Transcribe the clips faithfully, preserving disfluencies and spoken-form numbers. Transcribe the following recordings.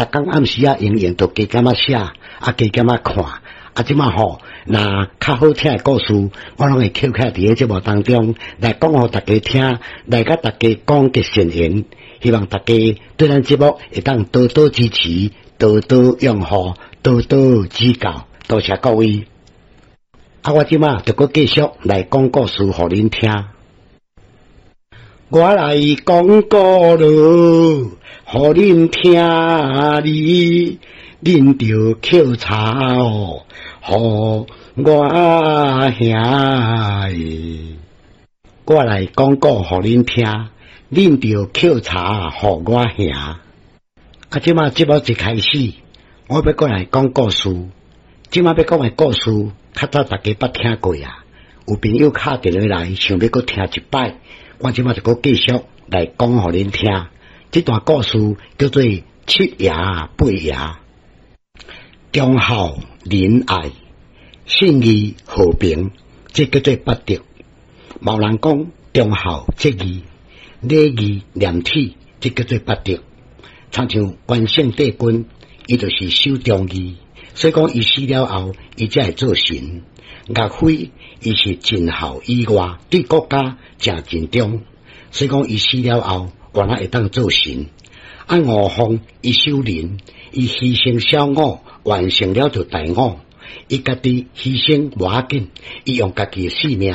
逐工暗時仔閒閒就加減仔寫，啊加減仔看，啊這馬吼，若較好聽的故事，我攏會抾起來佇咧節目當中來講予大家聽，來佮大家廣結善緣。希望大家對咱節目會當多多支持，多多擁護，多多指教。多謝各位。啊，我這馬就閣繼續來講故事予恁聽。我來講故事，予恁聽哩，恁著抾柴哦，予我兄。我來講故予恁聽，恁著抾柴予我兄。啊，這馬節目一開始，我欲閣來講故事。這馬欲講的故事，較早大家捌聽過啊。有朋友敲電話來，想欲閣聽一擺，我這馬就閣繼續來講予恁聽。這段故事叫做七爺八爺，忠孝仁愛、信義和平，這叫做八德。嘛有人講忠孝節義、禮義廉恥，這叫做八德。親像關聖帝君，伊就是守忠義，所以講伊死了後，伊才會做神。岳飛伊是盡孝以外，對國家誠盡忠，所以講伊死了後，原來會當做神。啊，吳鳳伊守仁，伊犧牲小我，完成了就大我。伊家己犧牲無要緊，伊用家己的性命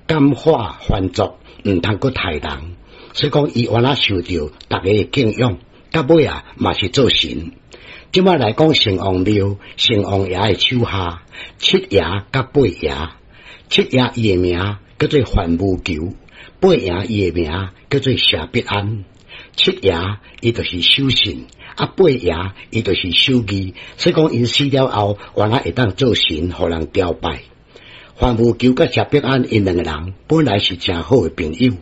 感化凡族，毋通閣刣人。所以講伊原來受著逐家的敬仰，到尾啊嘛是做神。這馬來講，城隍廟、城隍爺的手下，七爺佮八爺。七爺伊的名叫做范無求，八爺伊的名叫做謝必安。七爺伊就是守信，啊八爺伊就是守義。所以講𪜶死了後，原來會當做神，予人朝拜。范無求佮謝必安𪜶兩個人本來是誠好的朋友，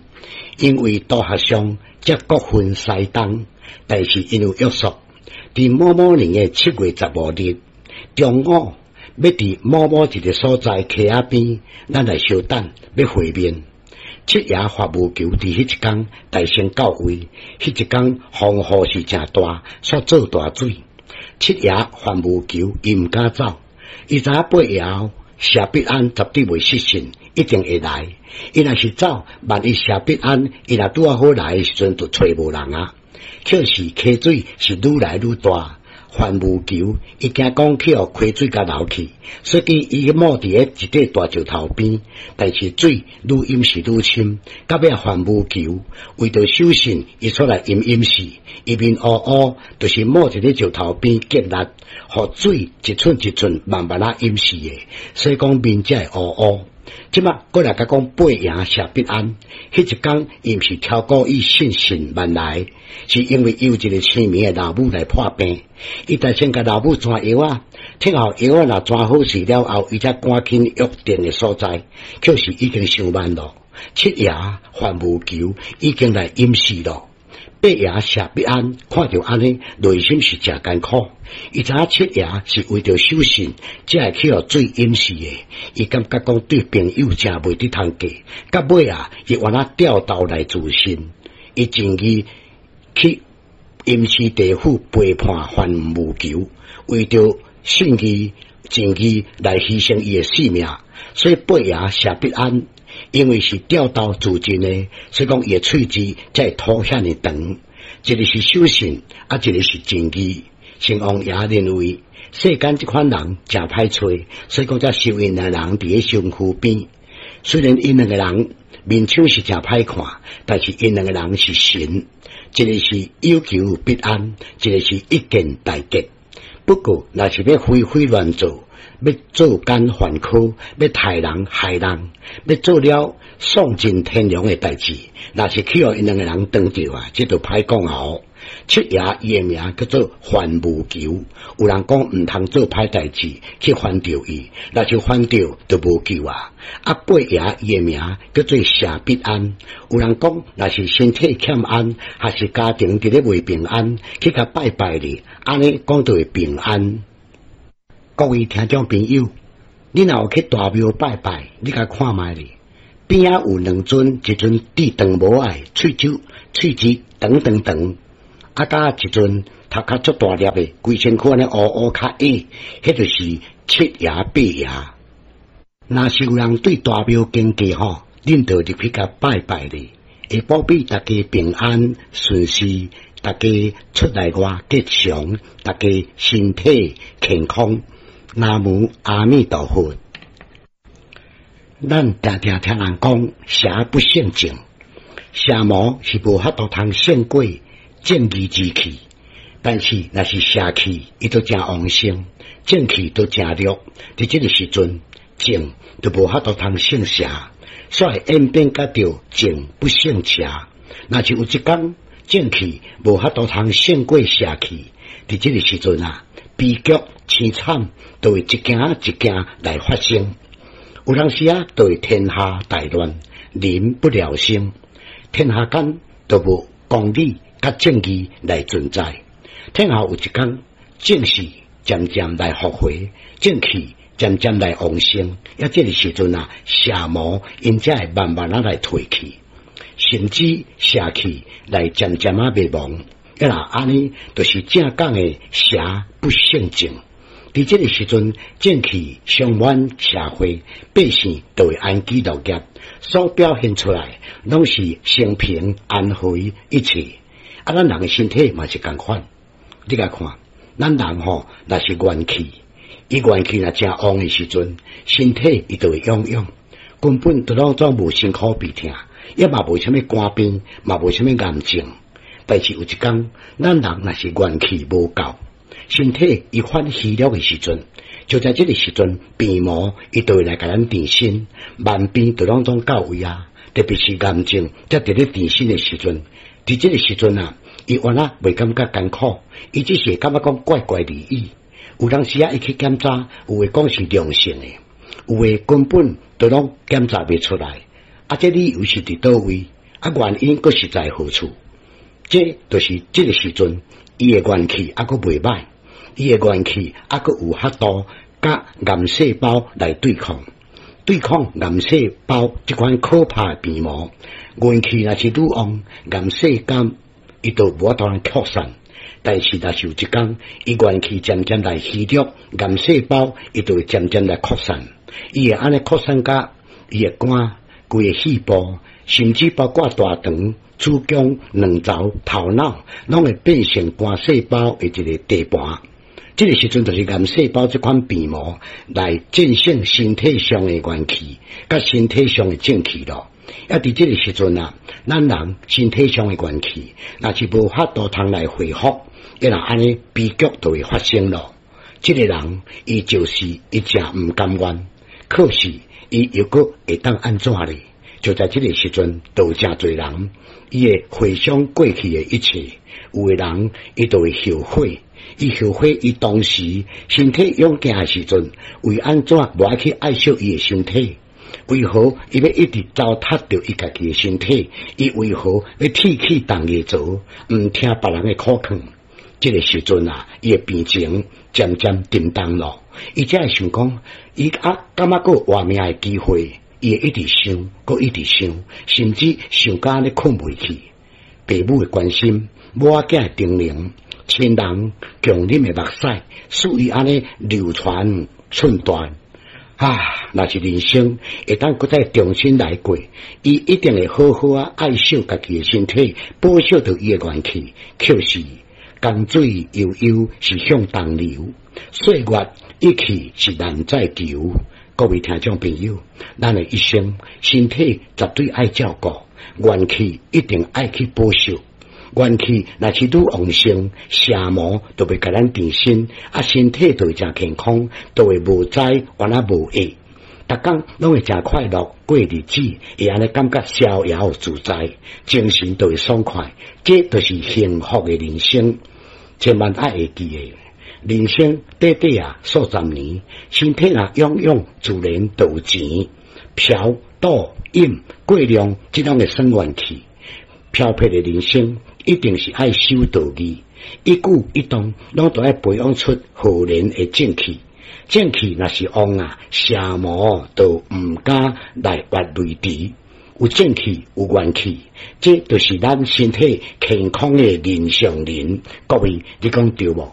因為道學上才各分西東，但是𪜶有約束。佇某某年的七月十五日中午，欲佇某某一个所在溪仔邊，咱來相等，欲會面。七爺范無求佇彼一工大聲到位，彼一工風雨是誠大，煞做大水。七爺范無求伊毋敢走，伊知影八爺謝必安絕對袂失信，一定會來。伊若是走，萬一謝必安伊若拄仔好來的時陣，就揣無人啊。可是溪水是愈來愈大，范無求伊驚講去予溪水共流去，所以伊踵佇咧一塊大石頭邊，但是水愈淹是愈深。到尾范無求為著守信，伊出來淹淹死，伊面烏烏，就是踵佇咧石頭邊結力，予水一寸一寸慢慢仔淹死的，所以講面才會烏烏。這馬閣來共講八爺謝必安，彼一工伊毋是超故意信神萬來，是因為有一个生暝的老母來破病，伊就先共老母煎藥仔，聽候藥仔若煎好勢了後，伊才趕緊約定的所在，卻是已經傷慢咯。七爺范無求已經來淹死咯。八爺謝必安看著按呢，內心是誠艱苦。伊知影七爺是為著守信，才會去予水淹死的。伊感覺講對朋友誠袂得通過。到尾啊，伊原來掉頭來自盡，伊盡義去陰司地府背叛范無求，為著信義、情義來犧牲伊的性命。所以八爺謝必安因為是吊刀自盡的，所以講伊的喙舌才會吐遐爾長。一个是守信，啊，一个是情義。城隍爺認為世間這款人誠歹揣，所以講才收𪜶兩个人佇咧身軀邊。雖然𪜶兩個人面相是誠歹看，但是𪜶兩個人是神。一个是有求必安，一个是一見大吉。不過，若是欲為非亂做，欲作奸犯科，欲刣人害人，欲做了喪盡天良的代誌，若是去予𪜶兩個人當著啊，這就歹講哦。七爺伊的名叫做范無求，有人講毋通做歹代誌去犯著伊，若是犯著就無救啊。啊，八爺伊的名叫做謝必安，有人講若是身體欠安，還是家庭佇咧袂平安，去共拜拜咧，按呢講就會平安。各位聽眾朋友，你若有去大廟拜拜，你共看覓咧，邊仔有兩尊，一尊戴長帽仔，喙舌喙舌長長長。啊，佮一尊頭殼足大粒的，規身軀按呢烏烏較矮，彼就是七爺八爺。若是有人對大廟經過吼，恁就入去共拜拜咧，會保庇大家平安順遂，大家出內外吉祥，大家身體健康。南無阿彌陀佛。咱定定聽人講，邪不勝正，邪魔是無法度通勝過正義之氣，但是若是邪氣，伊都誠旺盛，正氣都誠弱。佇這个時陣，正就無法度通勝邪，所以演變甲著正不勝邪。若是有一工正氣無法度通勝過邪氣，佇這个時陣啊，悲劇凄慘就會一件一件來發生。有當時啊，就會天下大亂，民不聊生，天下間都無公理佮正義來存在。天下有一工正事漸漸來復回，正氣漸漸來旺盛，啊，這个時陣啊，邪魔𪜶才會慢慢仔來退去，甚至邪氣來漸漸仔滅亡。啊，若按呢，就是正講的邪不勝正。佇這个時陣，正氣充滿社會，百姓就會安居樂業，所表現出來攏是升平安和一切。啊，咱人的身體嘛是仝款，你共看，咱人吼若是元氣，伊元氣若誠旺的時陣，身體伊就會勇勇，根本就攏總無辛苦病痛，也嘛無啥物肝病，嘛無啥物癌症。但是有一工，咱人若是元氣無夠，身體伊反虛弱的時陣，就在這个時陣，病魔伊就會來共咱纏身，萬病就攏總到位啊！特別是癌症，才佇咧纏身的時陣，佇這个時陣啊，伊原來袂感覺艱苦，伊只是會感覺講怪怪而已。有當時啊，伊去檢查，有的講是良性的，有的根本都攏檢查袂出來。啊，這理由是佇佗位？啊，原因閣是在何處？這就是這个時陣，伊的元氣猶閣袂䆀。伊的元氣猶閣有法度佮癌細胞來對抗，對抗癌細胞這款可怕的病魔。元氣若是愈旺，癌細胞伊就無法度擴散。但是若是有一工，伊元氣漸漸來虛弱，癌細胞伊就會漸漸來擴散。伊會按呢擴散甲伊的肝、規個肺部，甚至包括大腸、子宮、卵巢、頭腦，攏會變成肝細胞的一个地盤。這个時陣就是癌細胞這款病魔來戰勝身體上的元氣，佮身體上的正氣咯。啊，佇這个時陣啊，咱人身體上的元氣，若是無法度通來恢復，啊若按呢悲劇就會發生咯。這个人伊就是伊誠毋甘願，可是伊又閣會當按怎咧？就在這个時陣，就有誠濟人，伊會回想過去的一切，有的人伊就會後悔。伊後悔，伊當時身體勇健的時陣，為按怎無愛去愛惜伊的身體？為何伊欲一直糟蹋著伊家己的身體？伊為何欲鐵齒銅牙槽，毋聽別人的苦勸？這个時陣啊，伊的病情漸漸沉重咯。伊才會想講，伊啊感覺閣有活命的機會，伊會一直想，閣一直想，甚至想甲按呢睏袂去。父母的關心，某仔囝的叮嚀，親人共啉的目屎，使伊按呢流傳寸斷。啊！若是人生會當閣再重新來過，伊一定會好好仔愛惜家己的身體，保守著伊的元氣。卻是江水悠悠是向東流，歲月一去是難再求。各位聽眾朋友，咱的一生身體絕對愛照顧，元氣一定愛去保守。元氣若是愈旺盛，邪魔就袂共咱纏身，啊，身體就會誠健康，就會無災，原來無疫，逐工攏會誠快樂過日子，會按呢感覺逍遙自在，精神就會爽快，這就是幸福的人生。千萬愛會記得，人生短短啊數十年，身體若勇勇，自然就有錢。嫖賭飲過量，這種會算元氣。飄撇的人生，一定是愛守道義，一舉一動攏都愛培養出浩然的正氣。正氣若是旺啊，邪魔就毋敢來越雷池。有正氣，有元氣，這就是咱身體健康的人上人。各位，你講對無？